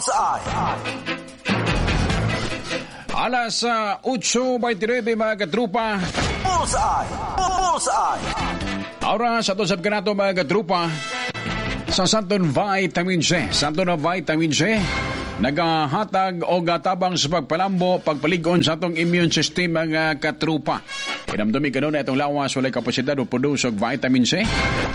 Bullseye. Alas 8:29, mga katrupa. Bullseye. Bullseye. Ahora sa to sa kanato, mga katrupa, sa Santon Vitamin C. Santon na Vitamin C nagahatag og tabang sa pagpalambo, pagpalig-on sa atong immune system, mga katrupa. Hinumdumi kanunay atong lawas walay kapasidad o produce og vitamin C.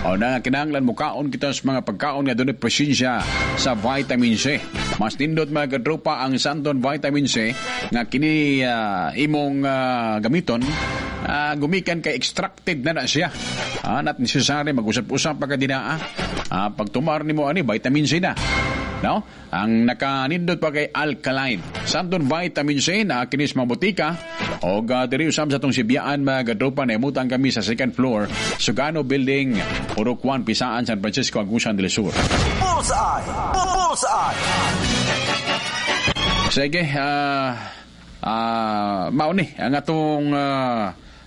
O na kinahanglan mukaon kita sa mga pagkaon nga dunay presensya sa vitamin C. Mas nindot, mga katrupa, ang Santon Vitamin C nga kini imong gamiton gumikan kay extracted na na siya. Not necessary mag-usap-usap pa ka dinaa. Pag tumar nimo ani, vitamin C na. No? Ang nakanindot pa kay alkaline. Santon Vitamin C na kini sa mga botika o diri usab sa atong Sibyaan, mga katropa, naimutang kami sa second floor, Sugano Building, Purok 1, Pisaan, San Francisco, Agusan del Sur. Bullseye. Bullseye. Sige, mao ni ang atong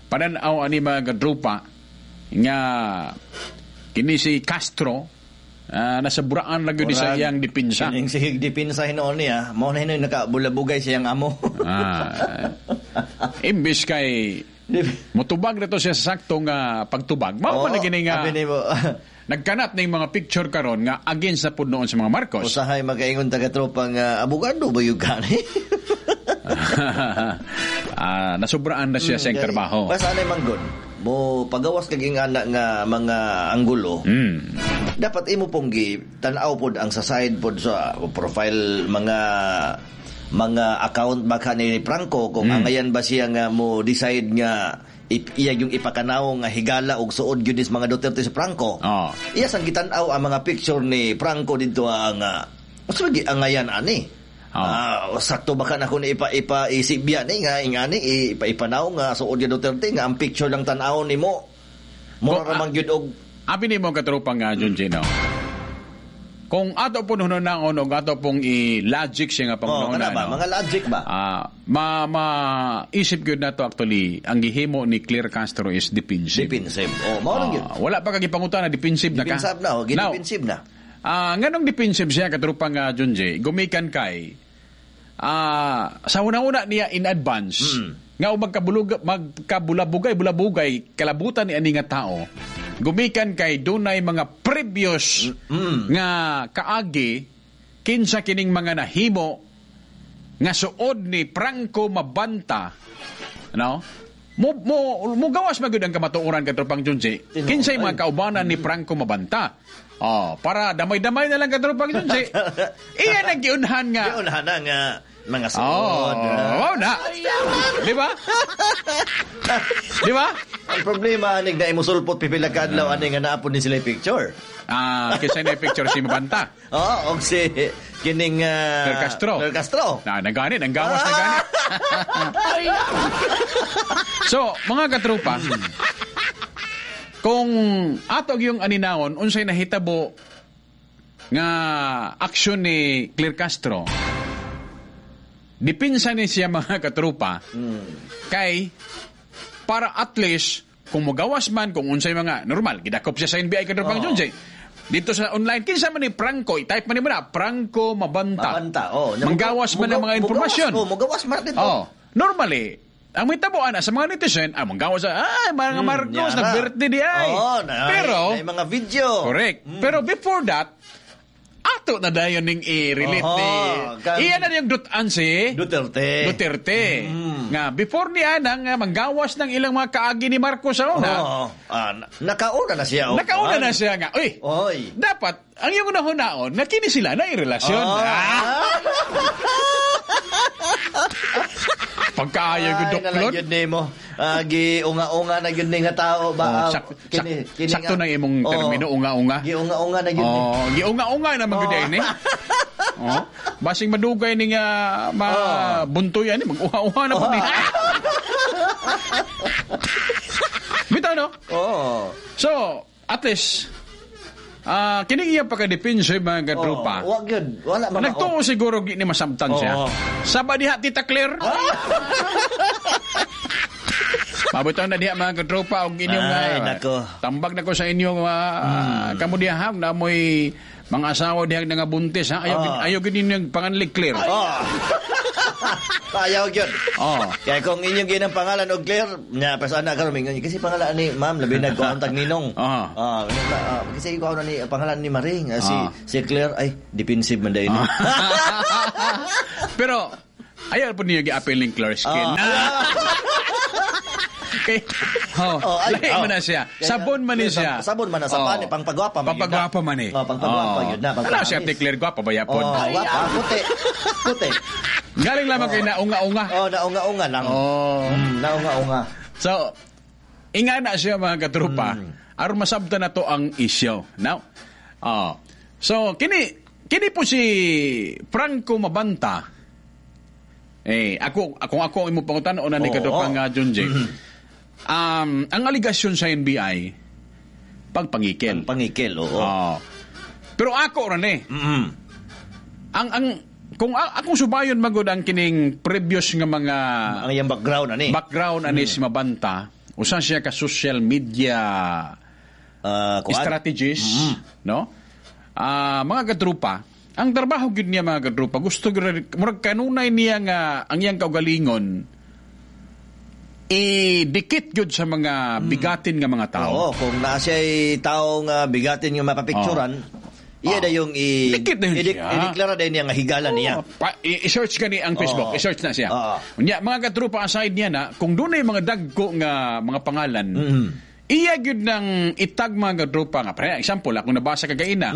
panan-aw ani, mga katropa, nga kini si Castro nasa buraan lang yun sa iyang dipinsa. Kining sige dipinsa hinuon niya, mao na hinuon nakabulabugay siyang amo. Imbis kay mutubag na to siya sa saktong pagtubag. Mao man na gini nga abi nimo, nagkanat ning mga picture karon nga against na pud noon sa mga Marcos. Usahay makaingon taga tropa nga abogado ba yung gani? Nasubraan na siya sa iyang trabaho. Basta anay manggod, mo pagawas kag ingana nga mga anggulo, dapat imo pong gi tan-aw pod ang sa side pod sa profile, mga account baka ni Franco, kung angayan ba siya nga mo decide nga iya yung ipakanaw nga higala og suod gyud is mga Duterte si Franco. Iya sang gitan-aw ang mga picture ni Franco didto ang unsa ba angayan ani? Sakto ba ka na kung ipa ipa isibya ni nga ingani ipa ipanaw nga suod gyud Duterte nga ang picture lang tan-aw nimo? Mura ra man gyud og Abi nimo, katropa nga John Gino. Kung ato po hunaon og ato pong i-logic siya nga Oh, pangunahuna, kana ba? no? Mga logic ba? Ma maisip gyud nato actually ang gihimo ni Claire Castro is defensive. Defensive. Oh, mao lang gyud. Wala pa ka gipangutana, defensive na ka. Defensive na, oh, gidefensive na. Nganong defensive siya, katropa nga John J? Gumikan kay sa una-una niya in advance nga og magkabulug magkabulabugay bulabugay kalabutan ni ani nga tao, gumikan kay dunay mga previous nga kaagi kinsa kining mga nahimo nga suod ni Franco Mabanta, no? Mo gawas man gyud ang kamatuoran, katropang Junji, kinsay mga kaubanan ni Franco Mabanta. Oh, para damay-damay na lang, katropang Junji, iya nang giunhan nga Giunhan na nga mga suod. Oh, wow na. Di ba? Di ba? Ang problema anig na imusulpot pipila ka adlaw ani nga naapon ni sila yung picture. Kinsa na picture si Mabanta? Oo, og si kining Claire Castro. Claire Castro. Na, nagani, nanggawas na gani. So, mga katropa, kung ato yung aninawon, unsay nahitabo nga aksyon ni Claire Castro, dipinsa ni siya, mga katropa, kay para at least kung mugawas man kung unsay mga normal gidakop siya sa NBI, katropang Junjay. Dito sa online, kinsa man ni Franco, i-type man ni mo na Franco Mabanta. Mabanta, oh. Manggawas man ang mga impormasyon. Oh, mugawas man dito. Oh, normally, ang may tabuan na sa mga netizen, manggawas ay, mga Marcos, Yara. nag-birthday di ay. Oo, na, pero, na, mga video. Correct. Pero before that, ato na dayon ning i-relate Oho, ni iya na yung dutan si Duterte. Duterte. Nga before niya nang manggawas ng ilang mga kaagi ni Marcos sa una. Oo. Nakauna na siya. Oh. Nakauna na siya nga. Uy, Oy. Dapat ang iyong unahon na kini sila na relasyon. Oh. Pagkaayo gyud Ay, duklon. nalang yun nimo. Giunga-unga na gyud ni nga tao ba? Oh, sakto na imong termino, unga-unga. Giunga-unga na gyud ni. Oh, giunga-unga na man gyud ini. Oh, basing madugay ni nga ma buntoy ani, mag-uha-uha na pud ni. Bitaw, no? Oo. So, at least kini iya pagka-depensa, mga katropa. Oh, wag yun. Wala ba? Nagtuo siguro gi ni masamtan siya. Oo. Saba diha, Tita Claire. Mabutaw na diha, mga katropa, og inyong Ay, nako. Tambag na ko sa inyong kamo diha ha, na mo'y Mga asawa dihang nga buntis ha, ayaw ayaw gid ninyo panganlig Claire. Oh. Ayaw gyud. Oh. Kaya kung inyong ginang pangalan og Claire, nya pas ana karon mingon kasi pangalan ni ma'am labi nagkuan tag ninong. Kasi ikaw na ni pangalan ni Maring, si si Claire ay defensive man dai ni. Pero ayaw po niyo gi-appeal ning Claire skin. Kay, oh, Oh, ay, lahi oh. man na siya. Kaya- Sabon man ni siya. Sabon man na sa pani, pangpagwapa man yun na. Pangpagwapa man eh. Oh, pangpagwapa yun na, Ano pangpagamis. siya, Ate Claire, gwapa ba yapon? Oh, gwapa, puti. Puti. Galing lamang kay naunga-unga. Oh, naunga-unga lang. Oh. Naunga-unga. So, inga na siya mga katrupa. Aron masabta na to ang isyo. Now, oh. So, kini kini po si Franco Mabanta. Eh, ako ako ako ang imong pangutan-on na ni katrupa nga Junji. Ang aligasyon sa NBI pagpangikil. Pangikil, oo. Oh. Pero ako ra ni. Ang kung akong subayon magud ang kining previous nga mga Ang iyang background ani. Background ani si Mabanta, usa siya ka social media kuan? strategist, no? Mga katrupa, ang trabaho gyud niya mga katrupa, gusto gyud murag kanunay niya nga ang iyang kaugalingon idikit gyud sa mga bigatin nga mga tao. Oo, kung naa siya'y tao nga bigatin nga mapapicturan, iya na yung Dikit na yun siya. i-deklara din niya nga higala niya. I-search gani ang Facebook, i-search na siya. Unya, mga katrupa, aside niya na, kung doon mga dagko nga mga pangalan, iya gyud nang itag mga katrupa nga. For example, akong nabasa kagaina,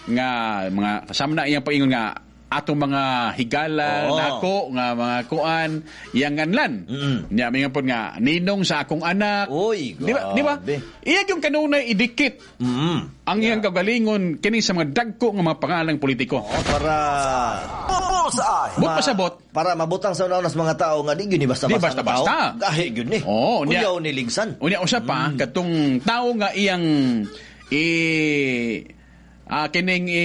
nga mga kasama na iyang paingon nga atong mga higala nako nga mga kuan iyang nganlan. Nya mingon pod nga ninong sa akong anak. Uy, di ba? Di ba? grabe. Iya yung kanunay idikit. Ang iyang kagalingon kini sa mga dagko nga mga pangalang politiko. Oo, para Bullseye. But pasabot. Para mabutang sa una sa mga tao nga di gyud ni basta-basta. Di basta-basta. ang tao. Gahi gyud ni. Oo, niya. Kuyaw ni ligsan. Unya usa pa katong tao nga iyang i kining i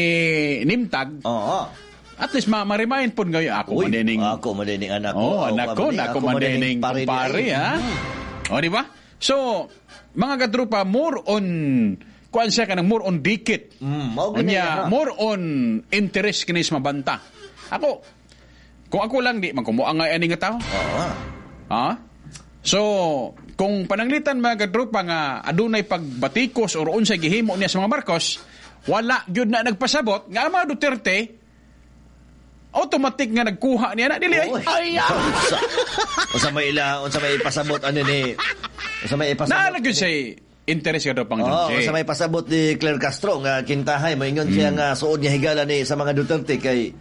nimtag. Oo. At least ma-remind pod ngayon ako Uy, man dining ako man dining anak ko. Oh, anak ko, man ako man dining pare ni kumpare, ay. ha. O, di ba? So, mga katrupa, more on kuan siya kanang more on dikit. Mao gani Unya, ha. more on interest kini sa mabanta. Ako, kung ako lang di man kumuha nga ani nga tao. Oo. Ha? So, kung pananglitan mga katrupa nga adunay pagbatikos or unsay gihimo niya sa mga Marcos, wala gyud na nagpasabot nga ang mga Duterte automatic nga nagkuha niya na dili ay. Uy. Unsa may ila, unsa may ipasabot ano ni unsa may ipasabot. Naa na gyud siya interest ka daw pang Oo, Duterte. unsa may pasabot ni Claire Castro nga kintahay moingon siya nga suod niya higala ni sa mga Duterte kay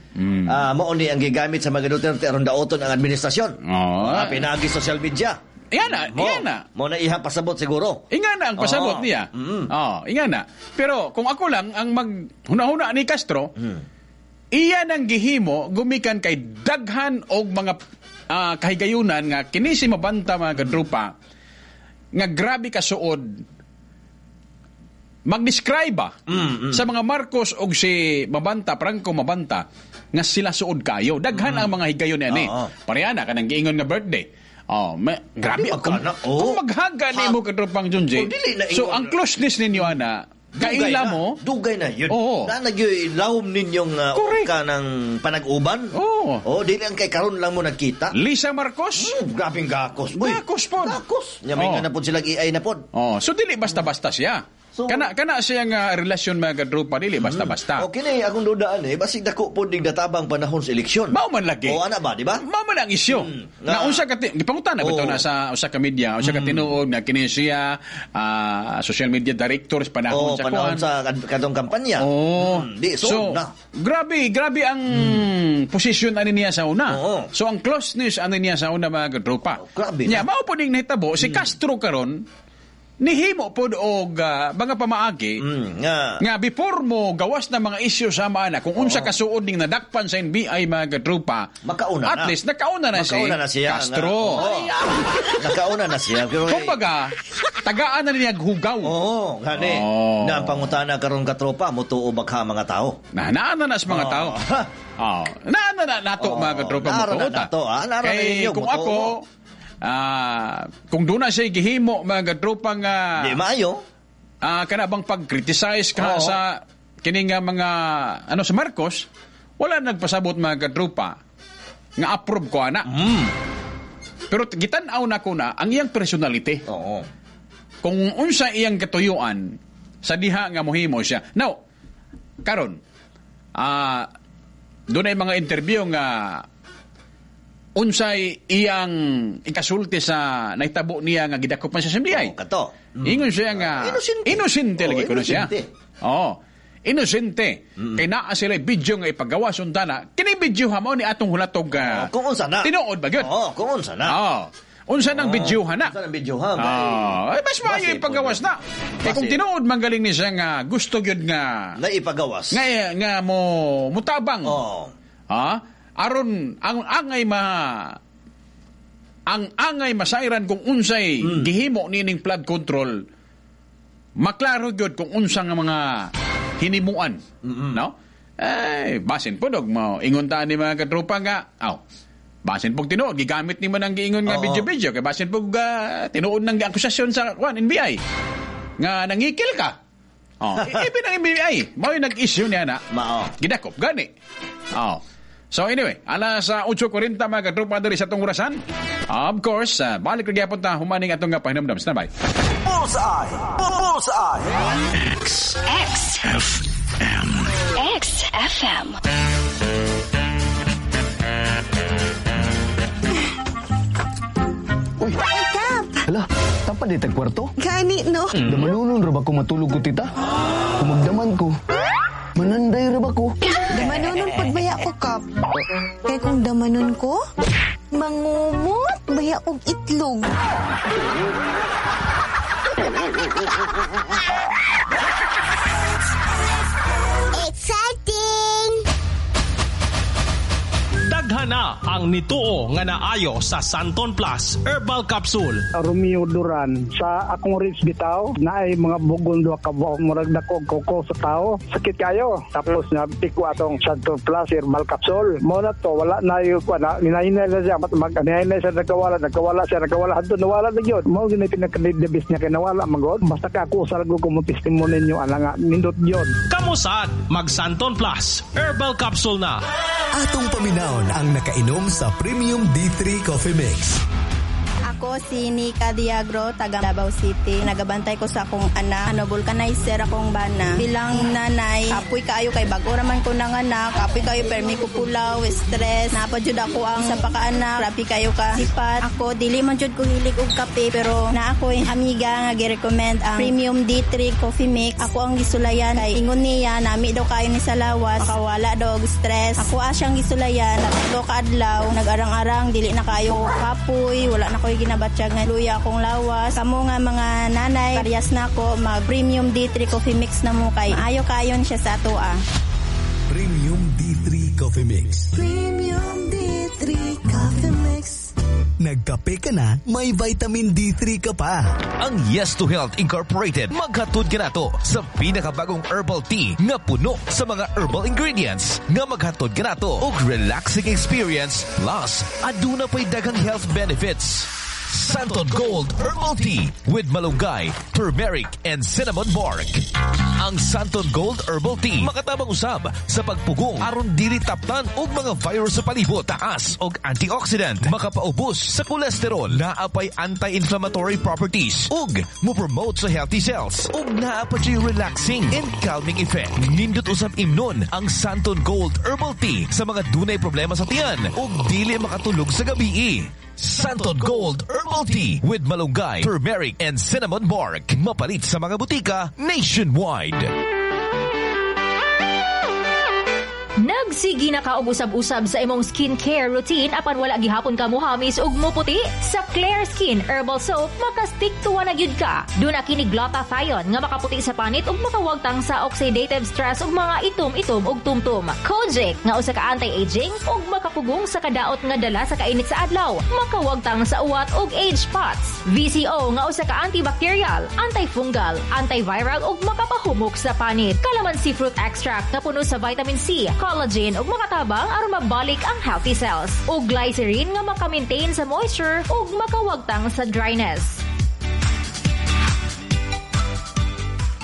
mao ni ang gigamit sa mga Duterte aron daoton ang administrasyon. Oo. Pinagi social media. Iyan na, Mo, iyan na. Mo na ihang pasabot siguro. Inga na ang pasabot Oo. niya. Oo, inga na. Pero kung ako lang ang maghuna-huna ni Castro, iya nang gihimo gumikan kay daghan og mga kahigayunan nga kini si Mabanta mga kadrupa nga grabe kasuod mag-describe ba sa mga Marcos og si Mabanta, Franco Mabanta nga sila suod kayo. Daghan ang mga higayon niya ni. Oo. Pareha na kanang giingon nga birthday. Oh, grabe Di ba kung, kana? Oo. kung maghaga nimo kadrupang Junji. Oh, dili na So ingon. ang closeness ninyo ana, Dugay kaila na. mo. Dugay na yun. Oo. Na nagyoy lawom ninyong Correct. ka ng panag-uban. Oo. Oh, dili ang kay karon lang mo nagkita. Lisa Marcos. Grabing gakos. Uy, Gakos pod. Gakos. Nya may Oo. nga na pod silang AI na pod. Oh, so dili basta-basta siya. So- kana kana siya nga relasyon mga kadrupa dili basta-basta. Okay na akong dudaan eh. Basig dako pod ning databang panahon sa eleksyon. Mao man lagi. O ana ba, di ba? Mao man ang isyu. Na unsa ka gipangutan na bitaw Oo. na sa usa ka media, usa ka tinuod na kini siya social media director sa panahon Oo, sa panahon kuan. sa katong kampanya. Oo. Di, so, na. Grabe, grabe ang posisyon ani niya sa una. Oo. So ang closeness ani niya sa una mga kadrupa. Oh, grabe Nya na. mao po ning nahitabo si Castro karon nihimo pod og mga pamaagi Nga. nga before mo gawas na mga isyu sa maana kung unsa kasuod ning nadakpan sa NBI mga kadrupa, Makauna at na. least nakauna na si Makauna na siya. Castro. Nga, oo. Nakauna na siya. Pero, Kumbaga, tagaan na niya hugaw. Oo, gani. Oo. Na ang pangutana karon katropa, mutuo ba ka mga tao? Na naana na sa mga Oo. tao. Oh, naana na nato Oo. mga katropa Naara na mutuo ta. nato, ah. Naara na Kay ninyo, kung mutuo ako, kung doon na siya gihimo mga katropa nga Di maayo. Kana bang pag-criticize ka Oo. sa Kini nga mga ano sa Marcos, wala nagpasabot, mga katropa, nga approve ko ana. Pero gitan-aw na ko na ang iyang personality. Kung unsa iyang katuyuan sa diha nga mohimo siya. Now, karon, doon ay mga interview nga unsay iyang ikasulti sa nahitabo niya nga gidakop man siya sa NBI. Oh, kato. Ingon siya nga Inosente. Inosente lagi Oh, kuno siya. inosente. Oo. Inosente. Kay naa sila video nga ipagawa sundana. Kini video ha mao ni atong hulatog Oh, kung unsa na. Tinuod ba gyud? Oo, kung unsa na. Oo. Unsa nang video ha na? Unsa nang video ha? Ah, ay, mas maayo Base ipagawas po na. Kay kung Base. tinuod man galing ni siya nga gusto gyud nga Na ipagawas. nga nga mo mutabang. Oo. Ha? Aron ang angay masairan kung unsay gihimo nining flood control, maklaro gyud kung unsa nga mga hinimuan, no? Ay, basin po dog mo ingon ta ni mga katropa nga aw, basin pog tinuod gigamit nimo nang giingon nga video-video kay basin pog tinuod nang akusasyon sa kwan NBI nga nangikil ka. Oh, ibi ng NBI mao yung nag-issue niya na. Mao. Gidakop gani. Oh. So anyway, alas 8:40, mga katropa, diri sa atong orasan. Of course, balik ra gyapon ta humaning atong nga pahinumdom. Standby. Bullseye. Bullseye. X. X. F. M. X FM. Uy, Kap! Hala, tampa di tag kwarto? Gani, no? Damanunon ra ba ko matulog ko, tita? Kung magdaman ko, mananday ra ba ko? Damanunon pud baya ko, Kap. Kaya kung damanon ko, mangumot baya og itlog. Exciting! Daghan na ang nituo nga naayo sa Santon Plus Herbal Capsule. Romeo Duran sa akong ribs bitaw na ay mga bugon duha ka buok, murag dako koko sa tao, sakit kayo. Tapos na ko atong Santo Plus herbal capsule mo na to, wala na yung na ninahinay na siya, mag ninahinay siya, nagkawala, nagkawala siya, nagkawala hadto nawala na gyud. Mao gyud pinaka the best niya kay nawala magod. Basta ka ako sa ko mo testimony ninyo ana nga nindot gyud. Kamusad, mag Santon Plus Herbal Capsule na. Atong paminawon ang nakainom sa Premium D3 Coffee Mix. Ako si Nika Diagro, taga Davao City. Nagabantay ko sa akong anak. Ano, vulcanizer akong bana. Bilang nanay, kapoy kaayo kay bago raman ko nang anak. Kapoy kayo permi ko pulaw, stress. Napa jud ako ang sa pakaanak. Grabe kayo ka sipat. Ako dili man jud ko hilig og kape, pero na ako amiga nga gi-recommend ang Premium D3 Coffee Mix. Ako ang gisulayan kay ingon niya nami daw kayo ni sa lawas. Makawala daw og stress. Ako asyang gisulayan. 3 ka adlaw nag-arang-arang, dili na kayo kapoy, wala na koy ginabatsyag nga luya akong lawas. Kamo nga mga nanay, parehas na ako mag Premium D3 Coffee Mix na mo kay ayo kayon siya sa atoa. Premium D3 Coffee Mix. Premium D3 Coffee Mix. Nagkape ka na, may vitamin D3 ka pa. Ang Yes to Health Incorporated maghatod kanato sa pinakabagong herbal tea nga puno sa mga herbal ingredients nga maghatod kanato og relaxing experience plus aduna pay daghang health benefits. Santon Gold Herbal Tea with malunggay, turmeric, and cinnamon bark. Ang Santon Gold Herbal Tea makatabang usab sa pagpugong aron dili taptan og mga virus sa palibot, taas og antioxidant, makapaubos sa kolesterol, naa pay anti-inflammatory properties ug mo-promote sa healthy cells ug naa pa siya'y relaxing and calming effect. Nindot usab imnon ang Santon Gold Herbal Tea sa mga dunay problema sa tiyan ug dili makatulog sa gabi. Santon Gold Herbal Tea with malunggay, turmeric, and cinnamon bark. Mapalit sa mga butika nationwide. Nagsige na ka og usab-usab sa imong skincare routine apan wala gihapon ka muhamis ug muputi? Sa Claire Skin Herbal Soap, makastick to na gyud ka. Duna kini glutathione nga makaputi sa panit ug makawagtang sa oxidative stress ug mga itom-itom ug tumtum. Kojic nga usa ka anti-aging ug makapugong sa kadaot nga dala sa kainit sa adlaw, makawagtang sa uwat ug age spots. VCO nga usa ka antibacterial, antifungal, antiviral ug makapahumok sa panit. Calamansi fruit extract nga puno sa vitamin C, collagen ug makatabang aron mabalik ang healthy cells. Ug glycerin nga maka-maintain sa moisture ug makawagtang sa dryness.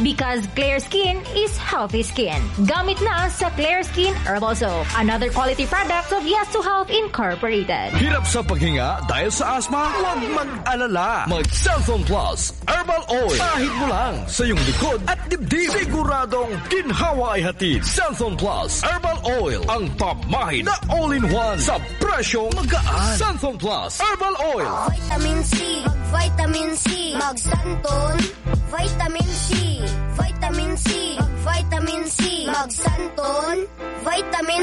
Because clear skin is healthy skin. Gamit na sa Clear Skin Herbal Soap. Another quality product of Yes to Health Incorporated. Hirap sa paghinga dahil sa asthma? Huwag mag-alala. Mag Xanthone Plus Herbal Oil. Pahid mo lang sa iyong likod at dibdib. Siguradong ginhawa ay hatid. Xanthone Plus Herbal Oil. Ang pamahid na all-in-one sa presyong magaan. Xanthone Plus Herbal Oil. Vitamin C, mag-vitamin C, mag-Xanthone, vitamin C, vitamin C, mag-vitamin C, mag-Xanthone, vitamin